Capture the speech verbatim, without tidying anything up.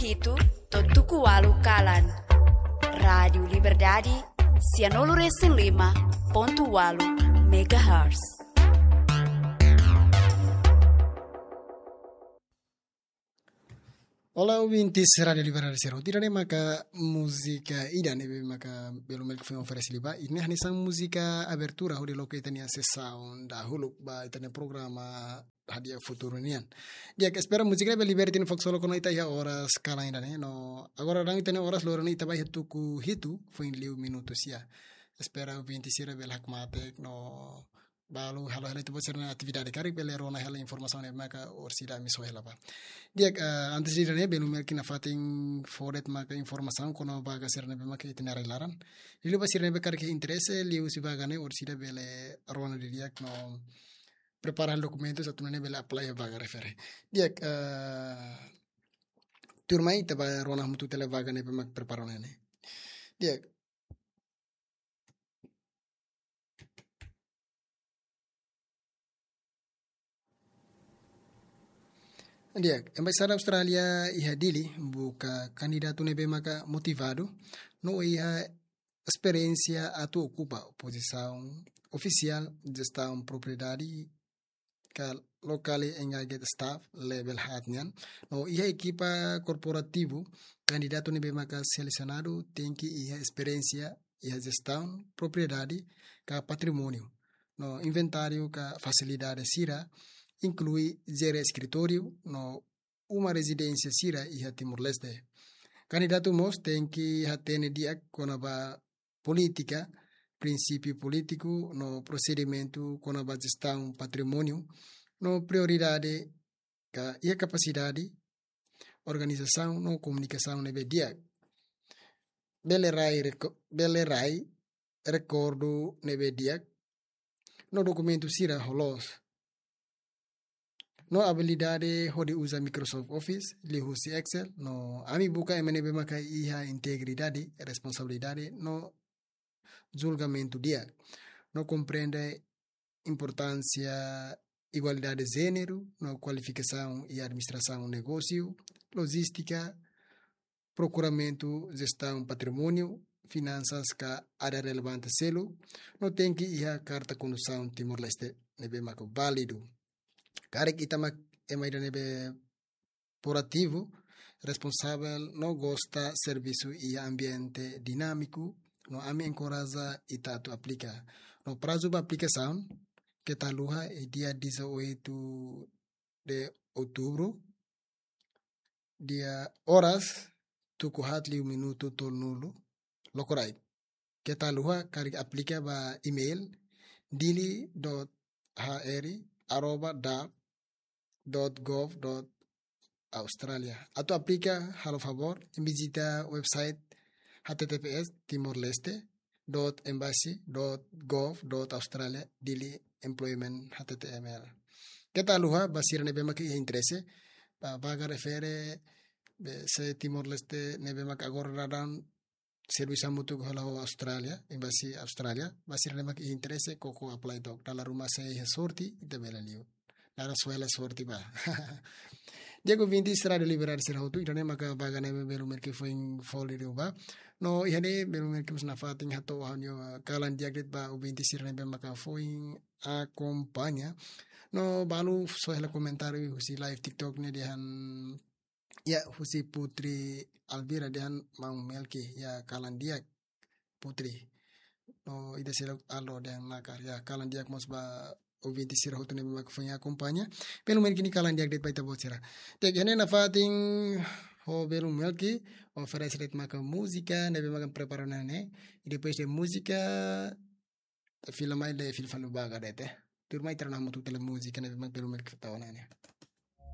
Hitu to'o tuku ualu kalan. Rádiu Liberdade, sianulu resin lima pontu ualu megahertz. Olá, ouvintes Rádiu Liberdade sira hotu, ida-ne'e maka múzika ida ne'ebé maka Belu Melki foin oferese liu ba. Ida-ne'e hanesan múzika abertura hodi loke ita-nia sesaun dahuluk ba ita-nia programa Hadi'a Futuru nian. Di'ak, espera múzika ne'e bele liberta ita-nia fokus solo kona ita iha oras kalan ida-ne'e, no agora daudaun ita-nia oras loron ne'e ita ba iha tuku hitu foin liu minutu sia. Espera ouvinte sira bele hakmatek no balu halo hela ita-boot sira-nia atividade karik bele rona hela informasaun ne'ebé maka orsida ami soe hela ba. Di'ak, eh, antes de ida-ne'e, Belu Melki nafatin fó de'it maka informasaun kona-ba vaga sira ne'ebé maka iha ita-nia rai-laran. Liuliu ba sira ne'ebé karik iha interese liuhusi vaga ne'e, orsida bele rona didi'ak no prepara dokumentus atu nune'e bele apply vaga refere. Di'ak, eh, tuirmai ita ba rona hamutuk tiha vaga ne'ebé maka prepara ne'e. Di'ak. Di'ak, Embaixada Austrália iha Dili buka kandidatu ne'ebé maka motivadu no iha esperiénsia atu okupa pozisaun ofisiál jestaun propriedade ka locally engaged staff level haat nian. No iha ekipa korporativu, kandidatu ne'ebé maka selesionadu tenke iha esperiénsia iha jestaun propriedade ka patrimóniu no inventáriu ka fasilidade sira, inklui jere eskritóriu no uma rezidénsia sira iha Timor-Leste. Kandidatu mós tenke hatene di'ak kona-ba polítika, prinsípiu polítiku no prosedimentu kona-ba jestaun patrimóniu no prioridade ka iha kapasidade organizasaun no komunikasaun ne'ebé di'ak. Bele rai reko-, bele rai rekordu ne'ebé di'ak no dokumentu sira ho loos. No abilidade hodi uza Microsoft Office, liuhusi Excel, no ami buka ema ne'ebé maka iha integridade, responsabilidade, no julgamentu di'ak. No komprende importánsia igualdade jéneru, no kualifikasaun iha administrasaun negósiu, lojístika, prokuramentu, jestaun patrimóniu, finansas ka área relevante seluk, no tenke iha karta kondusaun Timor-Leste ne'ebé maka válidu. Karik ita mak ema ida ne'ebé proativu, responsavel, no gosta servisu iha ambiente dinámiku, no ami enkoraja ita atu aplika. No prazu ba aplikasaun, keta haluha, iha dia dezoito de outubro, dia oras, tuku haat liu minutu tolunulu, lokraik. Keta haluha karik aplika ba email dili dot h r arroba dap dot gov dot australia. Atu aplika, halo favór, vizita website h t t p s timor leste dot embassy dot gov dot australia dili employment h t t m l. Keta haluha ba sira ne'ebé maka iha interese ba vaga refere, be se Timor-Leste ne'ebé maka agora daudaun servisu hamutuk hela ho Australia, embassy Australia, ba sira ne'ebé maka iha interese koko apply took. Dala ruma se iha sorte, ita bele liu. Dala suela sorte ba. Di'ak, ouvinte Rádiu Liberdade sira hotu, ida-ne'e maka vaga ne'ebé Belu Melki foin fó liu ba. No iha ne'e Belu Melki mós nafatin hato'o ha'u-nia kalan di'ak de'it ba ouvinte sira ne'ebé maka foin akompaña. No balu soe hela komentáriu husi live TikTok ne'e dehan, ya, husi Putri Alvira dehan maun Melki, ya, kalan di'ak Putri. No ida seluk Aldo dehan nakar, ya, kalan di'ak mós ba ouvinte sira hotu ne'ebé maka foin akompaña. Belu Melki nia kalan di'ak de'it ba ita-boot sira. Di'ak, iha ne'e nafatin ho Belu Melki oferese de'it maka múzika ne'ebé maka prepara ona ne'e. I depois de múzika, fila mai, lee fila fali vaga de'it. Tuirmai ita rona hamutuk tiha múzika ne'ebé maka Belu Melki tau ona ne'e.